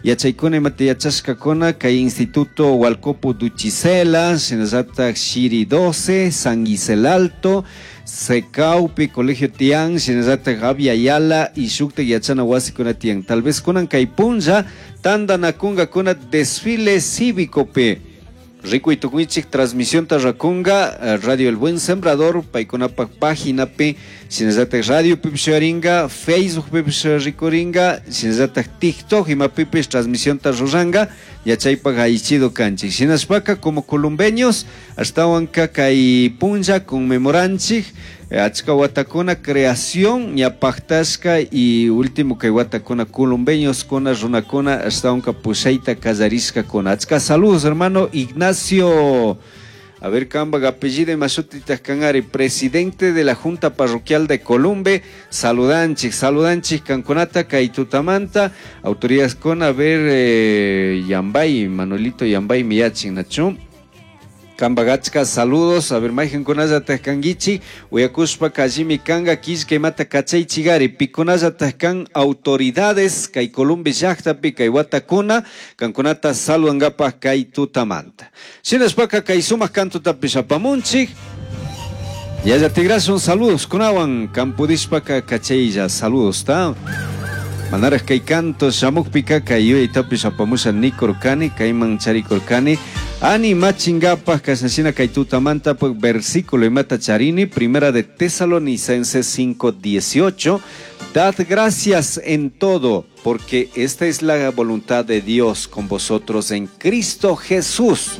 Yachaykuna imata yachashkakuna kay Instituto Hualcopo Duchicela, shinallatak Shiri 12, San Gisel Alto, Secaupi, Colegio Tian, shinallatak Abya Yala y shuktak yachana wasikuna tiyan. Tal vez kunan kay punlla tantanakunkakuna desfile cívicopi. Rikuy tukunchik transmisión rakunga Radio El Buen Sembrador, paykunapak páginapi, shinallatak radio pipish sharinga, Facebook pipish rikuringa, shinallatak TikTok imapipish transmisión ruranka, yachaypak allichido kanchik. Shinashpaka como columbeños, ashtawanka kay punlla conmemoranchik, achka watakuna creación ña paktashka y último kay watakuna columbeños kuna runakuna ashtawanka pushayta kallarishkakuna. Achka saludos, hermano Ignacio. A ver, kambak apellido imashutitaj kanari, presidente de la Junta Parroquial de Columbe. Saludanchik, saludanchik kankunata kay tutamanta. Autoridades con, a ver, Yambay, Manuelito Yambay miyachin, nachu. Kambak achka saludos, a ver, mayqankunallataj kankichik, uyakushpa kallimi kanka killka imata kachaychigari, pikunallataj kan autoridades kay Columbe llaktapi kay watakuna, kankunata saludankapaj kay tutamanta. Shinashpaka kay sumak kantotapish apamunchik. Yaya tigrasun saludos kunawan kampudishpaka kachaylla saludos, ta? Manaraj kay canto shamukpika kay yuyaytapish apamusha nikurkani, kayman charikurkani. Animachinkapaj kashnashina kay tutamanta pues, versículo imata charini, primera de Tesalonicenses 5:18. Dad gracias en todo, porque esta es la voluntad de Dios con vosotros en Cristo Jesús.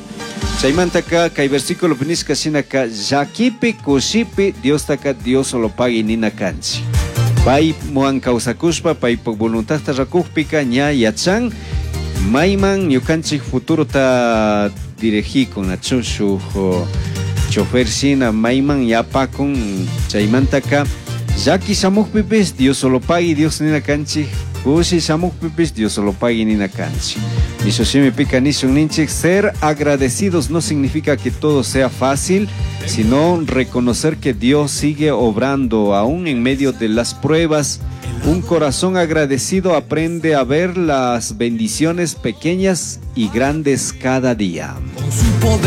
Chaymantaka kay versículo nishka shinaka llakipi kushipi Diostaka diosolopagui nina kanchik. Paywan kawsakushpa paypak voluntadta rakukpika ña yachan mayman ñukanchik futurota dirigikun nachu shuk chofer shina mayman yapakun. Chaymantaka llaki shamukpipish diosolopagui Dios nina kanchik, kushi shamukpipish diosolopagui nina kanchik. Mishu shimipika nishun ninchik, ser agradecidos no significa que todo sea fácil, sino reconocer que Dios sigue obrando aún en medio de las pruebas. Un corazón agradecido aprende a ver las bendiciones pequeñas y grandes cada día. Con su poder.